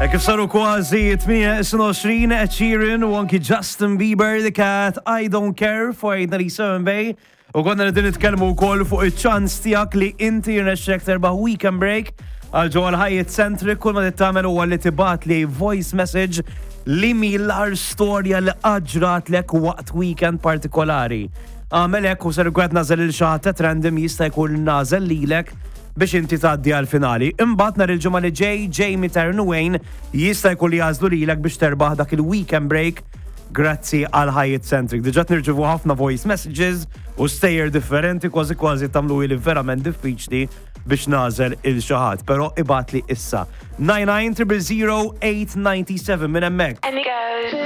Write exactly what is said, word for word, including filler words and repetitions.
E kif saru kważi tmienja u għoxrin, Ed Sheeran u anki Justin Bieber, The Cat, I Don't Care fuq ninety-seven Bay. U konna qegħdin nitkellmu wkoll fuq iċ-ċans tiegħek li inti jirnexxek terbaħ weekend break għal ġewwa l-Hyatt Centric. Kull ma tagħmel huwa li tibgħat li voice message li l-agħar storja li ġratlek waqt weekend partikolari. Għamel hekk u ser gwed nagħżel lil xi ħadd random, jista' jkun nagħżel lilek biex inti tgħaddi għal-finali. Imbagħad nhar il-Ġimgħa li ġej, Jamie Taryn Wayne jista' jkun li jagħżlu lilek biex terbaħ dak il-weekend break grazzi għal Hyatt Centric. Diġà nirċievu ħafna voice messages u stejjer differenti, kważi kważi tagħmlu li verament diffiċli biex nagħżel lil xi ħadd, pero ibgħatli issa. nine nine zero zero eight nine seven minn hemmhekk. Amigos.